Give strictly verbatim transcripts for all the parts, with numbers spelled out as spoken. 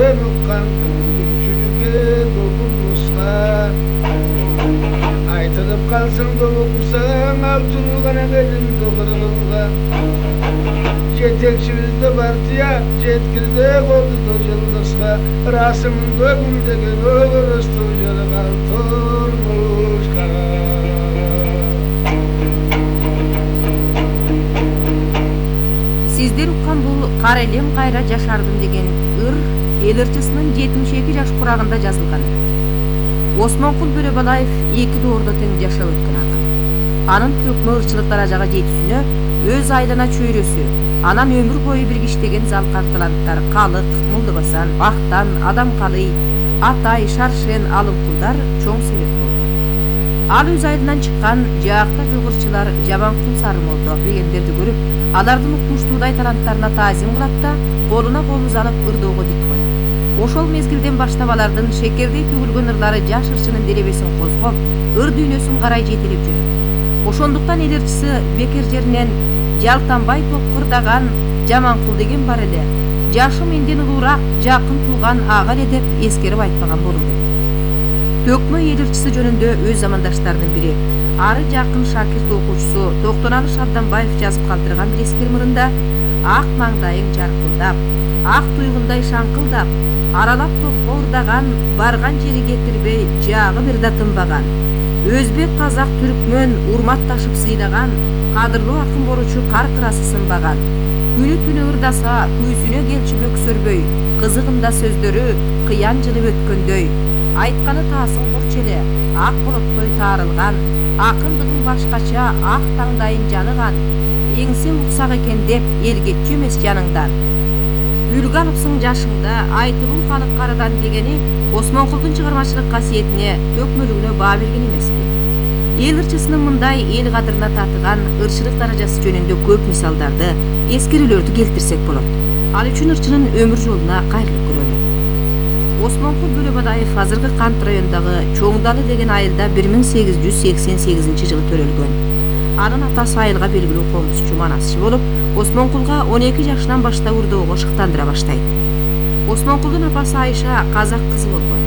Sen ukkan küçülüke dolunmuşka Aytılıp kalsın doluksan Altırılgana gelin doğırılga Jetekçimizde partiya Jetkirde oldu dojaldışka Rasımın dögümdegen Ögürüstü jalagan Tormuşka Сиздер уккан бул кара элем кайра жашардым деген ыр эл ырчысынын жетимиш эки жаш курагында жазылган. Осмонкул Бөлөбалаев эки доордо тең жашап өткөн акын. Анын төкмө ырчылык даражага жетүүсүнө өз айлана чөйрөсү, анан өмүр бою бирге иштеген залкар таланттар Калык, Мулдубасан, Актан, Адамкалый, Атай, Шаршен, Алымкулдар чоң себеп болду. Ал өз айылынан чыккан жаакта жок ырчылар Жаманкул Сарымолдо дегендерди көрүп, алардын укмуштуудай таланттарына таазим кылат да, колуна колубуз алып ырдоого дит коет. Ошол мезгилден баштап алардын шекердей төгүлгөн ырлары жаш ырчынын делебесин козгоп, ыр дүйнөсүн карай жетелеп жүрөт. Ошондуктан эл ырчысы бекер жеринен жалтанбай топкурдаган Жаманкул деген бар эле, жашы менден улуураак жакын тууган ага эле деп эскерип айтпаган болуу керек. Төкмө эл ырчысы жөнүндө өз замандаштарынын бири, ары жакын шакирт окуучусу Токтоналы Шабданбаев жазып калтырган бир эскерим ырында ак маңдайың жаркылдап, ак туйгундай шаңкылдап, аралап топко ырдаган, барган жери кетирбей жагы бир да тынбаган, өзбек, казак, түркмөн урматташып сыйлаган, кадырлуу акын боручу каркырасы сынбаган, күнү түнү ырдаса күйсүнө келчү бөксөрбөй, кызыгында сөздөрү кыян жылып өткөндөй, айтканы таасын курчу эле, ак болоттой таарылган, акындыгың башкача ак таңдайың жаныган, эңсең уксак экен деп эл кетчү эмес жаныңдан. Үлгү алыпсың жашыңда айтылуу халык карыдан дегени Осмонкулдун чыгармачылык касиетине, төкмөлүгүнө баа берген эмеспи. Эл ырчысынын мындай эл кадырына татыган ырчылык даражасы жөнүндө көп мисалдарды, эскерүүлөрдү келтирсек болот. Ал үчүн ырчынын өмүр жолуна кайрылып көрөлү. Осмонкул Бөлөбалаев азыркы Кант районундагы Чоңдалы деген айылда бир миң сегиз жүз сексен сегизинчи жылы төрөлгөн. Анын атасы айылга белгилүү комузчу, манасчы болуп, Осмонкулга он эки жашынан баштап ырдоого шыктандыра баштайт. Осмонкулдун апасы Айша казак кызы болгон.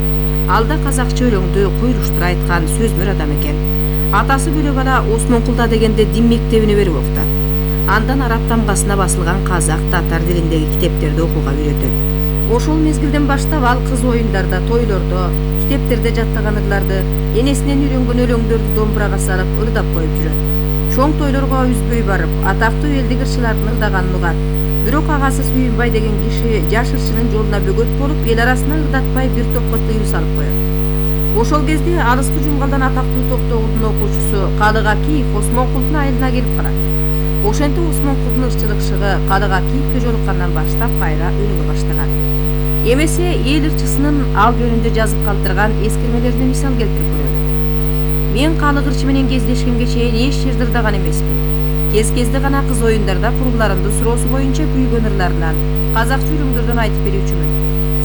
Ал да казакча өлөңдү куйлуштура айткан сөзмөр адам экен. Атасы Бөлөбала Осмонкулда дегенде дин мектебине берип окутат. Андан араб тамгасына басылган казак, татар тилиндеги китептерди окууга үйрөтөт. Ошол мезгилден баштап ал кыз оюндарда, тойлордо, китептерде жаттаган ырларды, энесинен үйрөнгөн өлөңдөрдү домбурага салып ырдап коюп жүрөт. Чоң тойлорго үзбөй барып, атактуу элдик ырчылардын ырдаганын угат. Бирок агасы Сүйүнбай деген киши жаш ырчынын жолуна бөгөт болуп, эл арасына ырдатпай бир топко тыюу салып коет. Ошол кезде алыскы Жумгалдан атактуу Токтогулдун окуучусу Калык Акиев Осмонкулдун айылына келип калат. Ошентип Осмонкулдун ырчылык шыгы Калык Акиевке жолуккандан баштап кайра өнүгө баштаган. Эмесе эл ырчысынын ал жөнүндө жазып калтырган эскермелерине мисал келтирип көрөлү. Мен Калык ырчы менен кездешкенге чейин эч жерде ырдаган эмесмин. Кез-кезде гана кыз оюндарда куруларымдын суроосу боюнча күйгөн ырларынан, казакча өлөңдөрдөн айтып берүүчүмүн.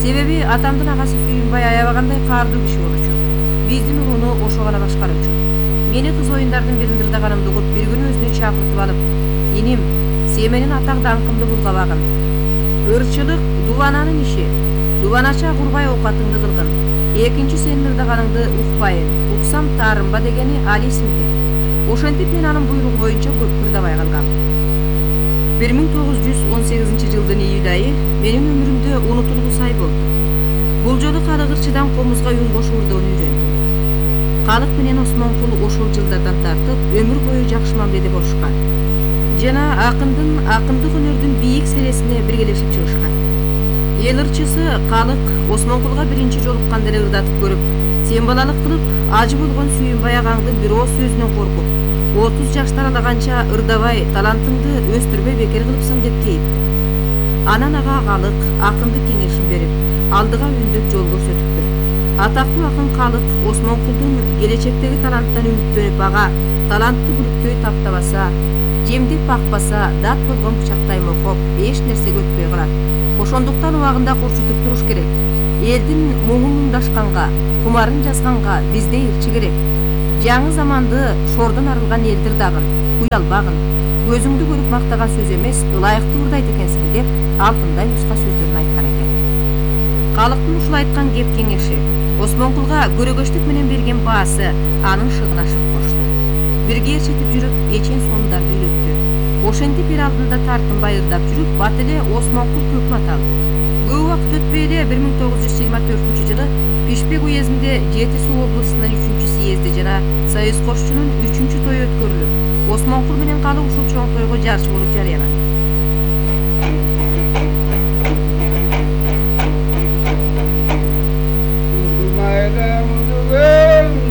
Себеби атамдын агасы Сүйүнбай аябагандай каардуу киши болчу. Биздин урууну ошо гана башкаруучу. Мени кыз оюндардын биринде ырдаганымды угуп, бир күнү өзүнө чакыртып алып, "Иним, сен менин атак даңкымды булгабагын. Ырчылык дубананын иши. Дубанача курбай оокатыңды кылгын. Экинчи сенин ырдаганыңды укпайын. Уксам таарынба" дегени ал эсимде. Ошентип мен анын буйругу боюнча көп ырдабай калгам. бир миң тогуз жүз он сегизинчи жылдын июль айы менин өмүрүмдө унутулгус ай болду. Бул жолу Калык ырчыдан комузга үн кошуп ырдоону үйрөндүм. Калык менен Осмонкул ошол жылдардан тартып өмүр бою жакшы мамиледе болушкан. Жана акындын акындык өнөрдүн бийик сересине биргелешип чыгышкан. Эл ырчысы Калык Осмонкулга биринчи жолукканда эле ырдатып көрүп, сен балалык кылып, ажы болгон Сүйүнбай агаңдын бир ооз сөзүнөн коркуп, отуз жаш таралаганча ырдабай, талантыңды өстүрбөй бекер кылыпсың деп кейипти. Анан ага Калык акындык кеңешин берип, алдыга үндөп жол көрсөтүптүр. Атактуу акын Калык Осмонкулдун келечектеги таланттан үмүттөнүп, ага талантты бүлүктөй таптабаса, жемдеп бакпаса, дат болгон бычактай мокоп, эч нерсеге өтпөй калат. Ошондуктан убагында курчутуп туруш керек. Элдин муңун муңдашканга, кумарын жазганга биздей ырчы керек. Жаңы заманды шордон арылган элдир дагын, уялбагын, көзүңдү көрүп мактаган сөз эмес, ылайыктуу ырдайт экенсиң деп алтындай нуска сөздөрүн айткан экен. Калктын ушул айткан кеп кеңеши Осмонкулга көрөгөчтүк менен берген баасы анын шыгына шык кошду. Бирге ээрчетип жүрүп, эчен сондарды үйрөттү. Ошентип эл алдында тартынбай ырдап жүрүп, бат эле Осмонкул көп ат алды. Көп убакыт өтпөй эле бир миң тогуз жүз жыйырма төртүнчү жылы Пишпек уездинде Жети Суу областынын үчүнчү съезди жана Союз кошчунун үчүнчү тою өткөрүлүп, Осмонкул менен Калык ушул чоң тойго жарчы болуп жарыяланды.